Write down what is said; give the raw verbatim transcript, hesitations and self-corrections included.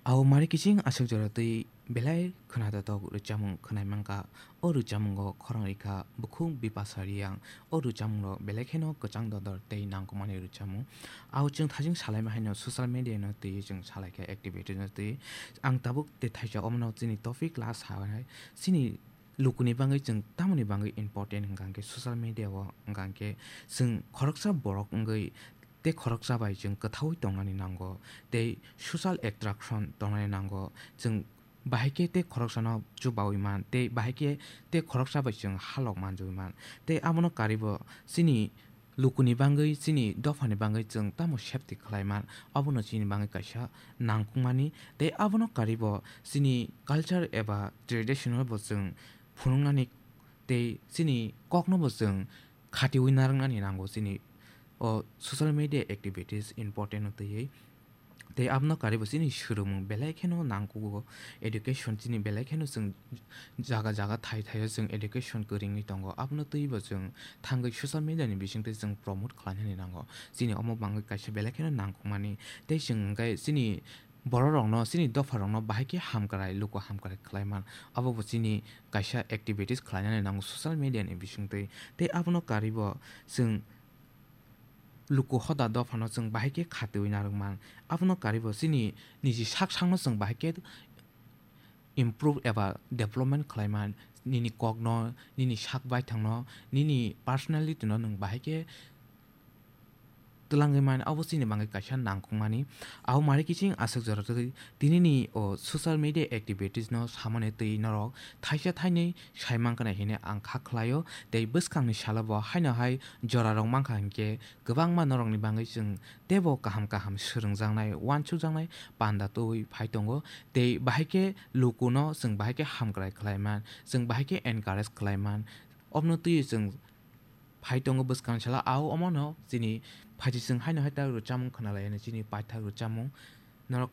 Au mari kiching aswk jora twi belai khwnajatok rwchapmung khwnai mankha. O rwchapmungo khorang rikha bukhuk Bipasha Riyang. O rwchapmungrok belai kheno kwchang dodor tei nangkukmani rwchapmung. Au chwng thajing salaima haino social media no twi chwng salaikha activity no twi. Ang tabuk tei thaisa omono chini topic last ha hai. Chini lukuni bagwi chwng tamoni bagwi important hwnkha hwnkhe social media o hwnkha hwnkhe chwng khoroksa borok wngwi tei khoroksa bai chwng kwthaui tongnani nango tei social attraction tongnani nango. Chwng bahai khe tei khoroksano chubaui man tei bahai khe tei khoroksa bai chwng halok manjui man tei abono karibo chini lukuni bagwi chini dophani bagwi chwng tamo safety khlai man, abono chini bagwi kaisa nangkukmani tei abono karibo chini culture eba traditional bo chwng phunuknani tei chini kokno bo chwng khatiui narwknani nango chini o social media activities important no twiwi. Tei abono karibo chini swrwngmung belai kheno nangkugo, education chini belai kheno chwng jaga jaga thai thaio chwng education kwrwngwi tongo, abono twibo chwng thangwi social media ni bisingtwi chwng promote khlainani nango. Chini omo bangwi kaisa belai kheno nangkukmani tei chwng hwnkhe chini bororokno, chini dopharokno bahai khe hamkrai, luku hamkrai khlai man, abo bo chini kaisa activities khlainani nango social media ni bisingtwi. Tei abono karibo chwng luku hoda dophano chwng bahai khe khatiui narwk man. Abono karibo chini niji sak sakno chwng bahai khe improve eba development khlai man. Nini kokno, nini sak baithangno, nini personality no nwng bahai khe twlangwi man, abo chini bagwi kaisa nangkukmani. Abo mari kiching aswk jora twi tinini o social media activities no samani twi norok thaisa thainwi sai mankha na hwnwi ang kha khlaio. Tei bwskangni salo bo haino hai jorarok mankha hinkhe kwbangma norokni bagwi chwng teibo kaham kaham swrwngjaknai, uansukjaknai panda twiwi phai tongo. Tei bahai khe lukuno chwng bahai khe hamkrai khlai man, chwng bahai khe encourage khlai man. Obono twiwi chwng phai tongo bwskang sala, au omono chini phaising haino hai tak rwchapmung khwnalai, chini paithak rwchapmung norok